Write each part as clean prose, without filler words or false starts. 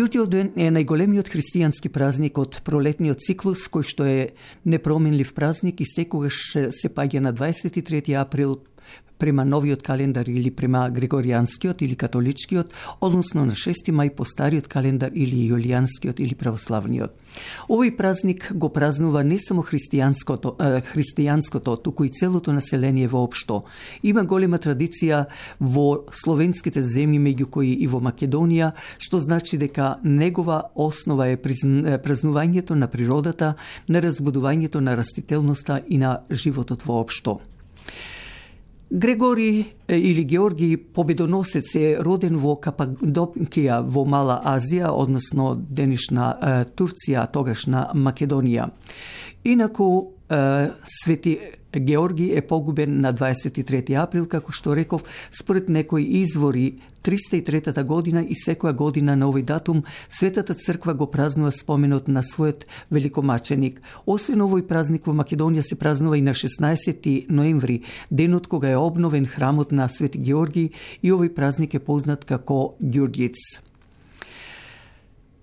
Ѓурѓевден е најголемиот христијански празник од пролетниот циклус, кој што е непроменлив празник и секогаш се паѓа на 23 април према новиот календар или према григоријанскиот или католичкиот, односно на 6 мај по стариот календар или јулијанскиот или православниот. Овој празник го празнува не само христијанското, туку и целото население воопшто. Има голема традиција во словенските земји, меѓу кои и во Македонија, што значи дека негова основа е празнувањето на природата, на разбудувањето на растителноста и на животот воопшто. Грегори или Георги Победоносец е роден во Кападокија во Мала Азија, односно денешна Турција, тогашна Македонија. Инаку Свети Георги е погубен на 23 април, како што реков, според некои извори 303 година и секоја година на овој датум Светата црква го празнува споменот на својот великомаченик. Освен овој празник во Македонија се празнува и на 16 ноември, денот кога е обновен храмот на Свети Георги, и овој празник е познат како Ѓурѓиц.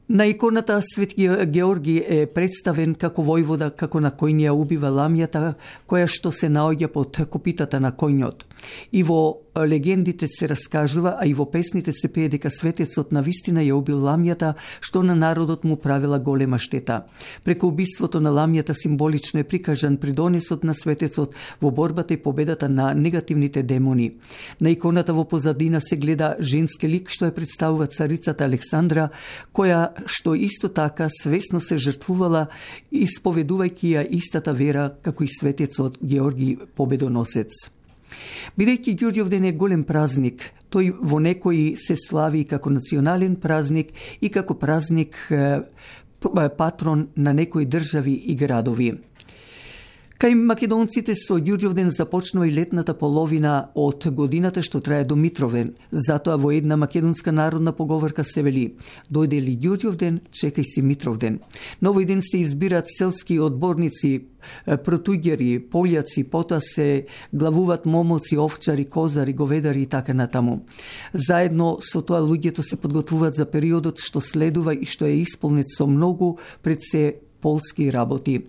На иконата Свети Георги е представен како војвода, како на кој ја убива ламјата, која што се наоѓа под копитата на коњот. И во легендите се раскажува, а и во песните се пее дека светецот навистина ја убил ламјата, што на народот му правила голема штета. Преку убиството на ламјата символично е прикажан придонесот на светецот во борбата и победата на негативните демони. На иконата во позадина се гледа женски лик што ја представува царицата Александра, која што исто така свесно се жртвувала, исповедувајќи ја истата вера како и светецот Георги Победоносец. Бидејќи Ѓурѓевден е голем празник, тој во некои се слави како национален празник и како празник патрон на некои држави и градови. Кај македонците со Ѓурѓевден започнува и летната половина од годината што трае до Митровден. Затоа во една македонска народна поговорка се вели: дојде ли Ѓурѓевден, чекај си Митровден. На овој ден се избираат селски одборници, протуѓери, полјаци, потоа се главуваат момоци, овчари, козари, говедари и така натаму. Заедно со тоа луѓето се подготвуваат за периодот што следува и што е исполнет со многу пред се полски работи.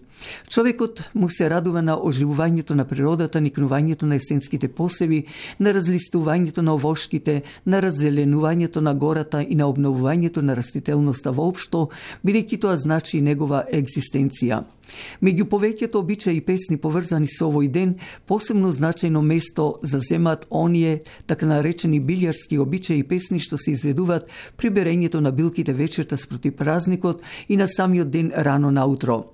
Човекот му се радува на оживувањето на природата, никнувањето на есенските посеви, на разлистувањето на овошките, на раззеленувањето на гората и на обновувањето на растителноста воопшто, бидејќи тоа значи и негова екзистенција. Меѓу повеќето обичаи и песни поврзани со овој ден, посебно значајно место заземаат оние така наречени билјарски обичаи и песни што се изведуваат при берењето на билките вечерта спроти празникот и на самиот ден рано наутро.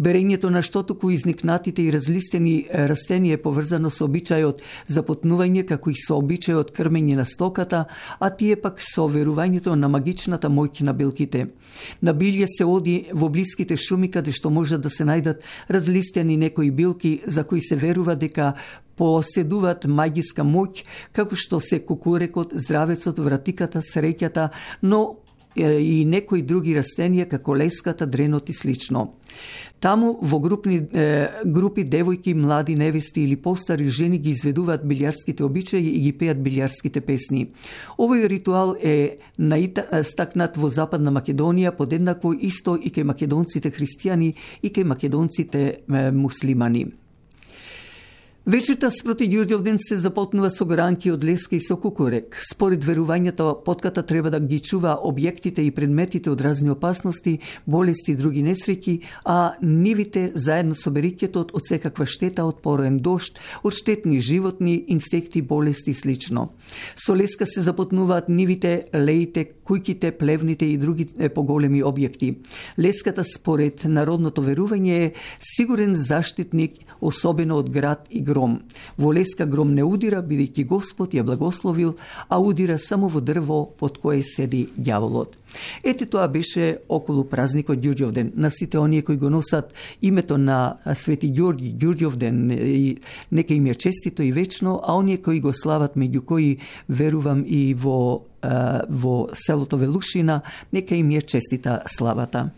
Берењето на штотоку изникнатите и разлистени растенија е поврзано со обичајот за потнување, како и со обичајот крмење на стоката, а тие пак со верувањето на магичната моќ на билките. На билје се оди во блиските шуми, каде што може да се најдат разлистени некои билки за кои се верува дека поседуваат магиска моќ, како што се кукурекот, здравецот, вратиката, среќата, но и некои други растенија како леската, дренот и слично. Таму во групи девојки, млади невести или постари жени ги изведуваат билјарските обичаи и ги пеат билјарските песни. Овој ритуал е стакнат во Западна Македонија, подеднакво исто и кај македонците христијани и кај македонците муслимани. Вечерта спроти Ѓурѓевден се запотнува со гранки од леска и со кукурек. Според верувањето, потката треба да ги чува објектите и предметите од разни опасности, болести и други несреќи, а нивите заедно со бериќето од секаква штета, од пороен дожд, од штетни животни, инсекти, болести и слично. Со леска се запотнуваат нивите, леите, кујките, плевните и други поголеми објекти. Леската според народното верување е сигурен заштитник, особено од град и гром. Во леска гром не удира, бидејќи Господ ја благословил, а удира само во дрво под кое седи ѓаволот. Ете тоа беше околу празникот Ѓурѓевден. На сите оние кои го носат името на Свети Ѓорги, Ѓурѓевден, и нека им е честито и вечно, а оние кои го слават, меѓу кои верувам и во селото Велушина, нека им е честита славата.